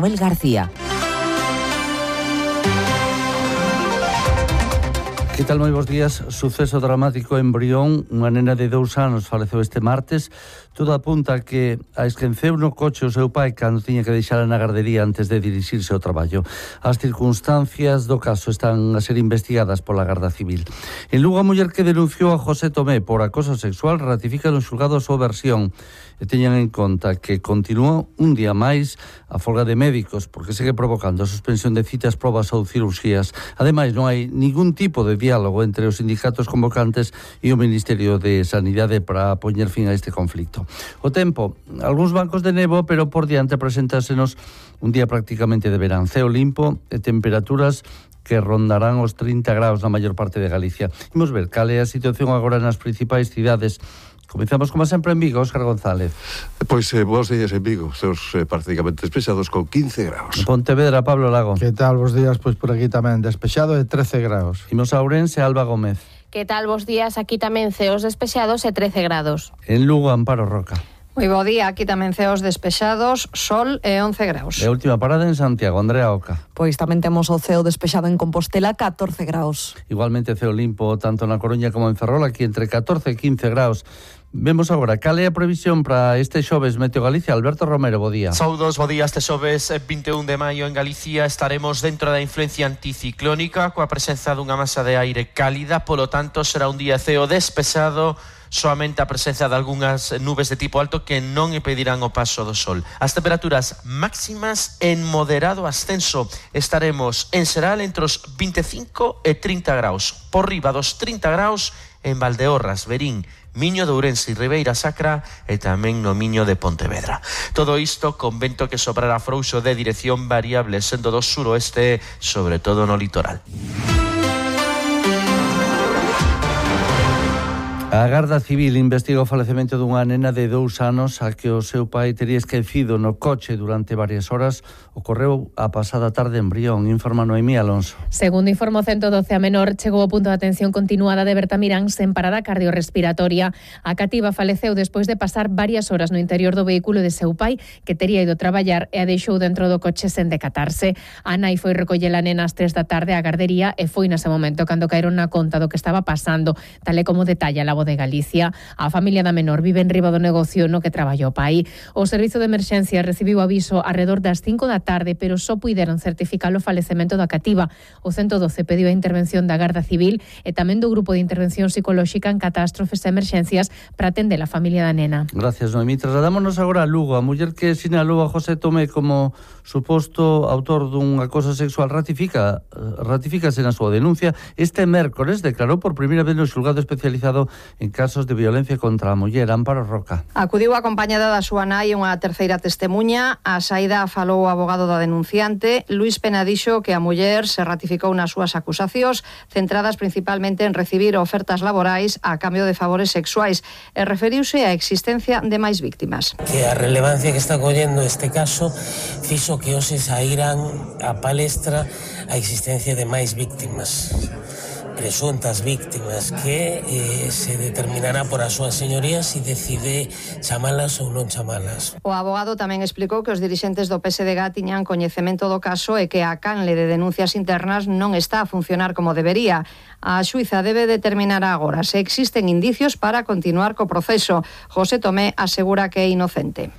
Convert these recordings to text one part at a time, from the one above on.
Manuel García. Que tal, moi bons días? Suceso dramático en Brión. Unha nena de 2 anos faleceu este martes. Todo apunta que a esqueceu no coche o seu pai cando tiña que deixala na gardería antes de dirixirse ao traballo. As circunstancias do caso están a ser investigadas pola Garda Civil. En Lugo, a muller que denunciou a José Tomé por acoso sexual ratifica no xulgado a súa versión e teñan en conta que continuou un día máis a folga de médicos porque segue provocando a suspensión de citas, probas ou cirurxías. Ademais, non hai ningún tipo de diálogo entre os sindicatos convocantes e o Ministerio de Sanidade para poñer fin a este conflicto. O tempo, algúns bancos de nevo, pero por diante presentásenos un día prácticamente de verán. Ceo limpo e temperaturas que rondarán os 30 graus na maior parte de Galicia. Imos ver cal é a situación agora nas principais cidades. Comezamos, como sempre, en Vigo, Óscar González. Pois bons días en Vigo, seus prácticamente despexados con 15 graus. En Pontevedra, Pablo Lago. Que tal, bons días? Pois por aquí tamén despexado de 13 graus. Imos a Ourense, Alba Gómez. Que tal, bons días? Aquí tamén ceos despexados e 13 grados. En Lugo, Amparo Roca. Moi bo día, aquí tamén ceos despexados, sol e 11 graus. E a última parada en Santiago, Andrea Oca. Pois tamén temos o ceo despexado en Compostela, 14 graus. Igualmente ceo limpo tanto na Coruña como en Ferrol, aquí entre 14 e 15 graus. Vemos agora cal é a previsión para este xoves Meteo Galicia. Alberto Romero, bo día. Saudos, bo día. Este xoves 21 de maio en Galicia estaremos dentro da influencia anticiclónica coa presenza dunha masa de aire cálida, polo tanto será un día ceo despexado, soamente a presenza de algunhas nubes de tipo alto que non impedirán o paso do sol. As temperaturas máximas en moderado ascenso. Estaremos en xeral entre os 25 e 30 graus. Por riba dos 30 graus en Valdeorras, Verín, Miño de Ourense e Ribeira Sacra e tamén no Miño de Pontevedra. Todo isto con vento que soprará frouxo de dirección variable sendo do suroeste, sobre todo no litoral. A Garda Civil investiga o falecemento dunha nena de 2 anos a que o seu pai tería esquecido no coche durante varias horas. Ocorreu a pasada tarde en Brión, informa Noemí Alonso. Segundo informou 112, a menor chegou ao punto de atención continuada de Bertamirán sen parada cardiorrespiratoria. A cativa faleceu despois de pasar varias horas no interior do vehículo de seu pai, que tería ido traballar e a deixou dentro do coche sen decatarse. A nai foi recoller a nena ás 3 da tarde á gardería e foi nese momento cando caeron na conta do que estaba pasando, tal e como detalla a de Galicia. A familia da menor vive en riba do negocio no que traballa o pai. O servizo de emerxencia recibiu aviso arredor das 5 da tarde, pero só puideron certificar o falecemento da cativa. O 112 pediu a intervención da Garda Civil e tamén do Grupo de Intervención Psicolóxica en Catástrofes e Emerxencias para atender a familia da nena. Gracias, Noemí. Trasladámonos agora a Lugo. A muller que sinalou a José Tomé como suposto autor dun acoso sexual ratifícase na súa denuncia. Este mércores declarou por primeira vez no xulgado especializado en casos de violencia contra a muller. Amparo Roca. Acudiu acompañada da súa nai unha terceira testemuña. A saída falou o abogado da denunciante. Luís Pena dixo que a muller se ratificou nas súas acusacións, centradas principalmente en recibir ofertas laborais a cambio de favores sexuais, e referiuse á existencia de máis víctimas. Que a relevancia que está collendo este caso fixo que hoxe saíran a palestra a existencia de máis víctimas, presuntas víctimas, que se determinará por as súas señorías se decide chamalas ou non chamalas. O abogado tamén explicou que os dirixentes do PSDG tiñan coñecemento do caso e que a canle de denuncias internas non está a funcionar como debería. A xuíza debe determinar agora se existen indicios para continuar co proceso. José Tomé asegura que é inocente.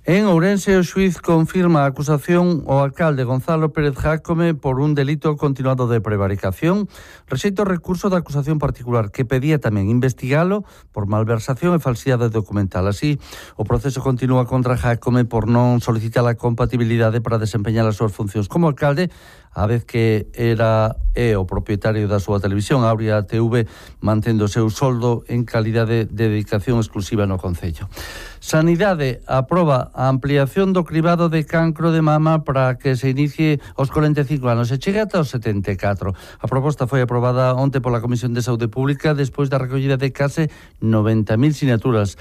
En Ourense, o xuiz confirma a acusación ao alcalde Gonzalo Pérez Jácome por un delito continuado de prevaricación. Rexeita o recurso da acusación particular, que pedía tamén investigalo por malversación e falsidade documental. Así, o proceso continúa contra Jácome por non solicitar a compatibilidade para desempeñar as súas funcións como alcalde, a vez que é o propietario da súa televisión, Aurea TV, mantendo o seu soldo en calidade de dedicación exclusiva no Concello. Sanidade aproba a ampliación do cribado de cancro de mama para que se inicie aos 45 anos e chegue ata os 74. A proposta foi aprobada onte pola Comisión de Saúde Pública despois da recollida de case 90.000 sinaturas.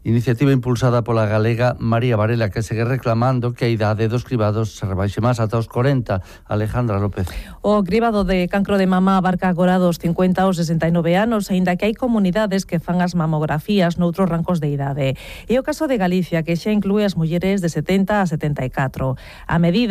Iniciativa impulsada pola galega María Varela, que segue reclamando que a idade dos cribados se rebaixe máis ata os 40. Alejandra López. O cribado de cancro de mama abarca agora dos 50 aos 69 anos, aínda que hai comunidades que fan as mamografías noutros rancos de idade. E o caso de Galicia, que xa inclúe as mulleres de 70 a 74. A medida